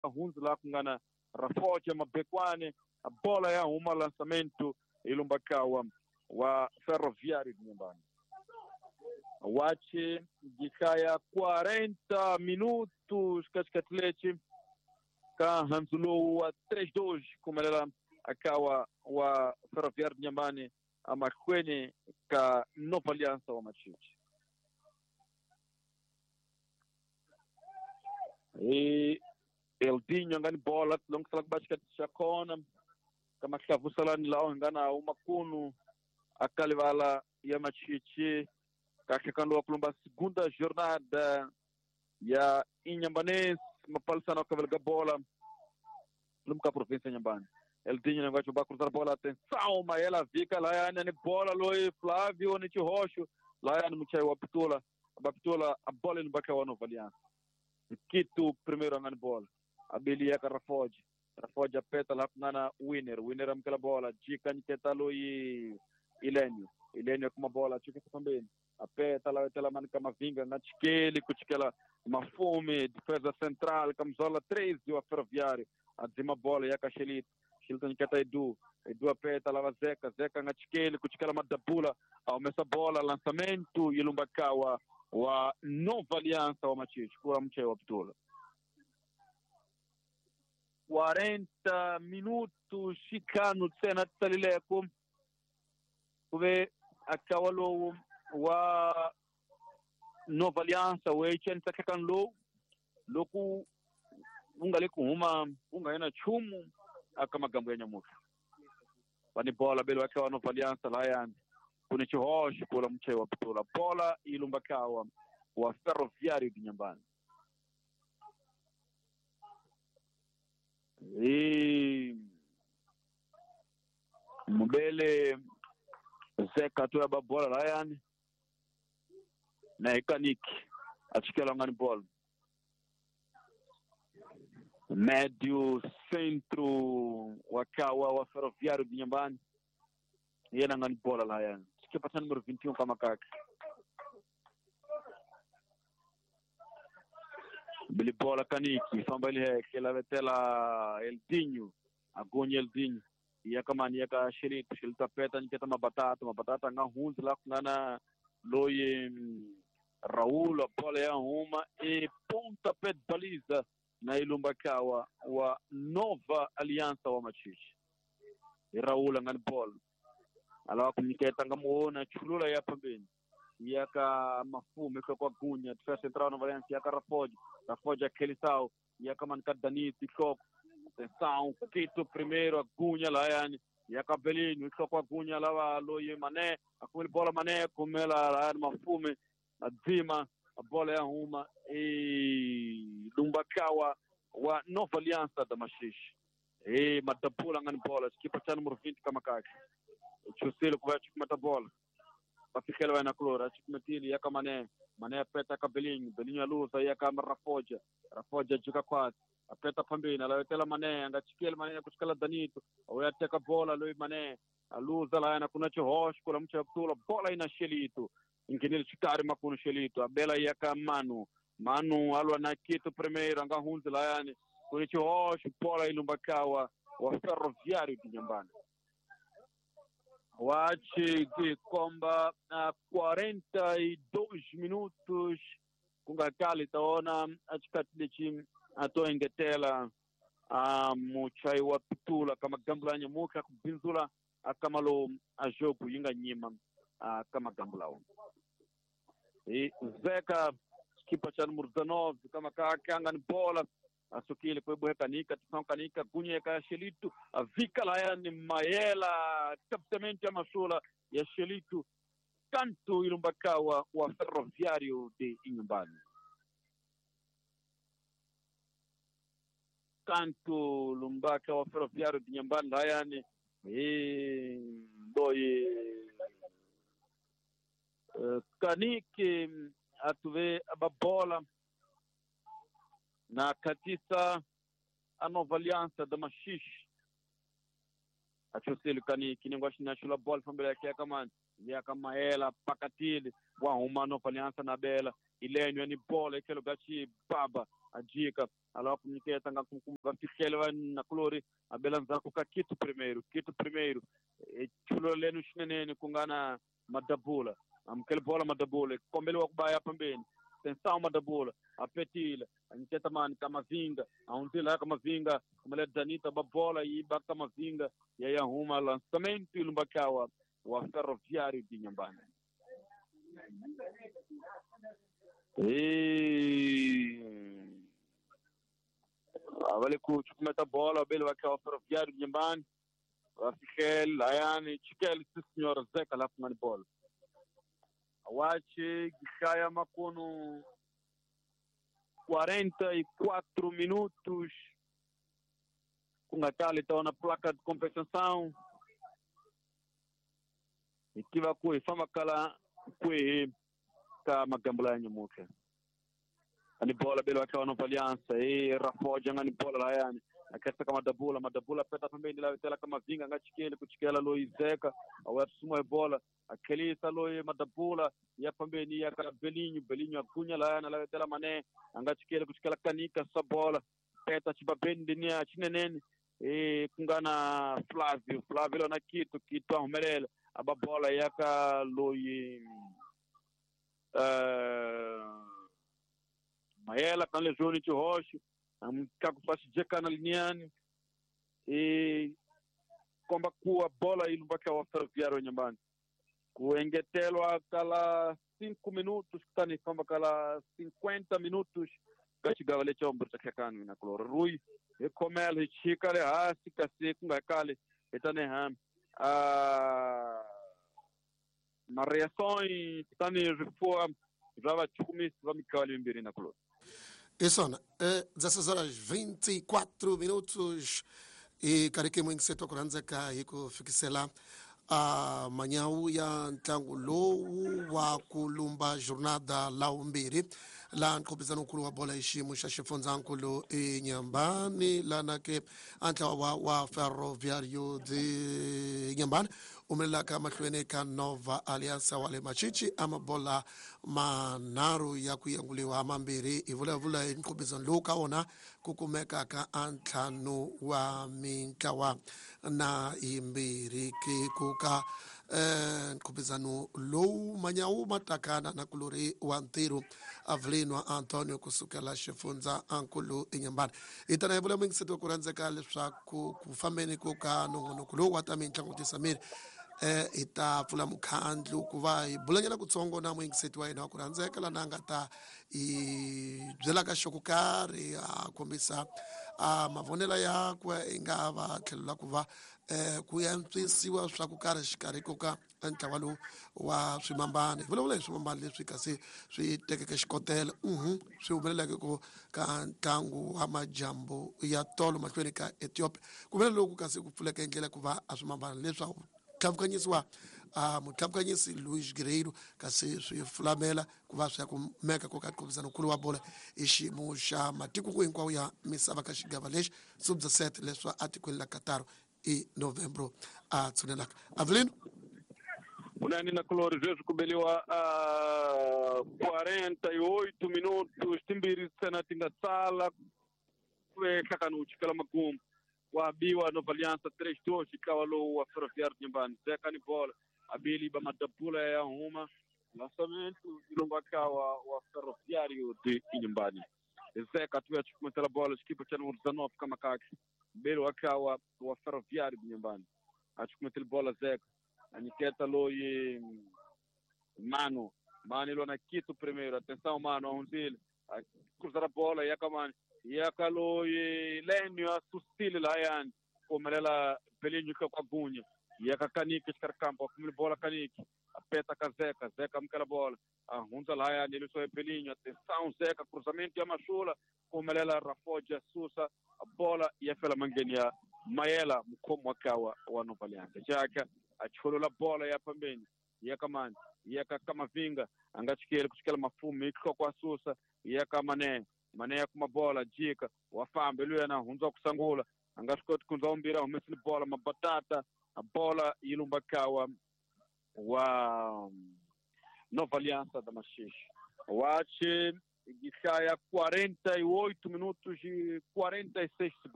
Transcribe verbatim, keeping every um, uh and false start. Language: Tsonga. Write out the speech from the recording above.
Hunzi la kungana Rafoja Mabekwane, a bola ya huma lançamento ilumbakawa wa Ferroviário de Inhambane. Wache jikaya quarenta minutos katikati ka Hanzulu wa três dois kumelela akawa wa Ferroviário de Inhambane amakweni ka Nova Aliança wa Machichi. E Eldinho ngani bola longisela kubashika chakona kama hlavusalani lao ngana umakunu akalivala ya Machichi kakhekando kulumba segunda jornada ya Inhambanense mapalisana kavelga bola lumka província Inhambane. Eldinho negócio ba cruzar bola, atenção, Maela vika lá yani ni bola loi Flávio ni Chirocho lá yani muchai wa Pitola, a Pitola a bola no baka wa Nova Aliança. Quito primeiro ngani bola. Abilia ka Rafoge. Rafoge apeta lá na Winner, Winner amkela bola, Dica niketa loi Ilênio. Ilênio com uma bola, chica também. Apeta lá tela mano Camavinga na Tchikele, kuchikela Mafume, defesa central, camisola treze o Ferroviário. Adzima bola ya Cachelito. Xilton niketa Edu. Edu apeta lá Zeca, Zeca na Tchikele, kuchikela Madabula, aumessa bola, lançamento e Lumbakawa wa Nova Aliança wa Machichi, kula mche wa Pitola. quarenta minutos chicano tsena tsalileko kuve akawalo wa Nova Aliança we chen lo loku ungale kuhuma ungayena chumu akamagambo ya nyamuka bani bola belo akawa Nova Aliança la yani kune chihoshi kula mche wa Pitola bola ilumbakawa wa Ferroviário de Inhambane. E mbele Zeca tu ya bola la yani na Ikaniki achikela ngani bola médio centro wakawa wa Ferroviário de Inhambane yena ngani bola la yani chikipa número vinte e um kama kaka Bili bola Kaniki famba ile heke la vetela Eldinho agonha Eldinho ia kamani ia ka Xelito Xelito apeta niketa mabatata mabatata nga hunzi la kungana loye Raul a bola ya uma e pontapé de baliza na Ilumbakawa wa Nova Aliança wa Machichi. E Raul ngani bola alawa kumniketa ngamuona chulula ya pembeni yaka Mafume kwa Gunya defesa central Nova Aliança yaka Rafoge Rafoge aquele sal yaka manca Danito Choco atenção Quito primeiro a Gunya lá yani yaka Belinho Choco a Gunya lá loye Mané a com bola Mané com ela lá Mafume a Dima a bola é uma e Lumbakawa wa Nova Aliança da Machixe e Matapula ngani bola equipa cha número vinte kamakaka Chusilo kwa chukumata bola bafikela vai na clora chukumatili yaka Mané Mané apeta ka Belinho Belinho alusa yaka Rafoja Rafoja juka quase apeta pambina la tela Mané anga chikele Mané kuchikala Danito oyateka bola loi Mané alusa la na kuna chihosh kula mcha kutula bola ina Xelito ingenile chikari makuno Xelito abela yaka Manu Manu alwa na Quito primeiro anga hunzi la yani kuna chihosh bola ilumbakawa wa Ferroviário de Inhambane. Wache de komba a quarenta e dois minutos kungakali taona achikatilichi atoengetela a muchai wa Pitula kama gambula nyamuka kubinzula akamalo a jogo yinga nyima kama gambula e Zeca kipa cha número dezenove kama kanga ni bola asukile kwa buhekanika tusankanika gunyeka Xelito a vika la yani Maela captamento ya masula ya Xelito canto ilumbakawa wa Ferroviário de Inhambane. Canto lumbaka wa Ferroviário de Inhambane la yani e doi Kaniki atuve a bola na katisa a Nova Aliança da Machixe. Achusilo Kaniki ningoshi na chula bola fambele yake kamani yaka Maela pakatile wa uma Nova Aliança na bela Ilênio ni bola ikelo gachi baba Ajika alawa kunyiketa nga kumva fihlele va nakulori abela ndzhaku ka Kito primeiro Kito primeiro chulo lenu xinenene ku nga na Madabula amukele bola Madabula kombeliwa ku baya pambeni tensão Madabula apetile anyiketa mani Kamavinga ahundzile Kamavinga kumele Danita ba bola yi ba Kamavinga ya ya huma lançamento ilumbakawa wa Ferroviário de Inhambane. E avale ku chukumeta bola bele wa Ferroviário de Inhambane Rafikel Ayani Chikel senhora Zeca lá com bola. Awache Gishaya Makono quarenta e quatro minutos com a tala então na placa de compensação e tiva ku fama kala kwe ka magambula nyamuke ani bola bele wa Nova Aliança e Rafoja ngani bola la yani akesa kama Madabula Madabula peta pembeni la tela kama Vinga ngachikele kuchikela Loizeka awasuma bola akelisa loye Madabula ya pembeni ya Belinho Belinho agunya la yana la tela Mané angachikele kuchikela Kanika sabola peta chibabeni nia chinenene e kungana Flávio Flávio na Kito Kito ahumelela ababola yaka loye uh, Maela kanle Júnior de Rocha amkaku jeka na liniani e komba kuwa bola ilumbaka wa Ferroviário Inhambane kuengetelwa kala cinco minutos kutani komba kala cinquenta minutos kachigava le chombo chakakani na kloro Rui ekomela hichika le hasi kasi kungakale etane ham a na reações kutani rifoa rava chumisi va mikali mbiri na kloro. Isso, é, dezesseis horas vinte e quatro minutos e karike mwingi seto kuranzeka iko fikisela a manhã ya ntlangu lowu wa kulumba jornada la umbiri la nqhubizano nkulu wa bola xiyimo xa xifundzankulu eNyambani lana ke a ntlawa wa, wa Ferroviário de Inhambane humelelaka mahlweni ka Nova Aliança wa le Machichi a mabola manharhu ya ku yenguliwa mambirhi hi vulavula hi nqhubizano lowu ka wona ku kumekaka a ntlhanu wa mintlawa na yimbirhi ke ku ka eh nqhubizano lowu manyawu matakana na kulori wa ntirho Avelino Antonio kusukela xifundza ankulu eNyambani hi tana hi vula mingiseti wa ku rhandzeka leswaku ku fambeni ku ka nongonoko lowu wa ta mintlangu tisamiri eh hi ta pfula mukhandlu ku va hi bulanyana kutsongo na muyingiseti wa hina wa ku rhandzeka lana a nga ta hi byelaka xo karhi a kombisa a mavonelo yakwe i nga va tlhelo la ku va eh ku antswisiwa swa ku karhi xikarhi ko ka ntlawa lowu wa swimambana hi vulavula hi swimambana leswi kasi swi tekeke xikotela mhm swi humeleleke ku ka ntlangu wa majambu ya tolo mahlweni ka Ethiopia ku vela loku kasi ku pfuleka ndlela ku va a swimambana leswaku tlhavukanyisiwa a mutlhavukanyisi Luis Guerreiro kasi swi fulamela ku va swi ya kumeka ko ka nqhubizano nkulu wa bola i xiyimo xa matiko hinkwawo ya misava ka xigava lexi sub-dezessete leswa atikweni la Qatar i novembro a tshunelaka Avelino unani na kulori sweswi ku beliwa quarenta e oito minutos timbirhi ntsena ti nga sala ku ehlakani wu chikela makumu wabiwa Nova Aliança três dois ntlawa lowu wa Ferroviário de Inhambane Zeka ni bola abili ba Madabula ya huma lançamento ilumbaka wa, wa Ferroviário de Inhambane Zeka tuya chukumetela bola xikipa cha número dezenove Kamakaki belo wakawa wa Ferroviário de Inhambane achukumetela bola Zeka aniketa loyi Mano Mano ilona Kito primeiro atenção Mano ahunzile cruzar a bola yakamani yakaloyi Lênio asusile layani kumelela Belinho ka kwagunya yakakaniki xikarhi akumile bola Kaniki apeta ka Zeka Zeka amukela bola ahundza layani eliso Belinho atenção Zeka cruzamento ya Mashula kumelela Rafoja susa bola yafela mangeni ya Mayela mukhomi wa kawa wa Nova Aliança Jaka acholola bola ya pambeni yakamani yakakamavinga angachikele kuchikela mafumi ihloko asusa yakamane Mané kuma bola jika wafambe luya na hunza kusangula anga swi koti ku ndza humesile bola mabatata a bola yi lumba kawa wa Nova Aliança da Maxixe wache Gichaya quarenta e oito minutos e quarenta e seis segundos.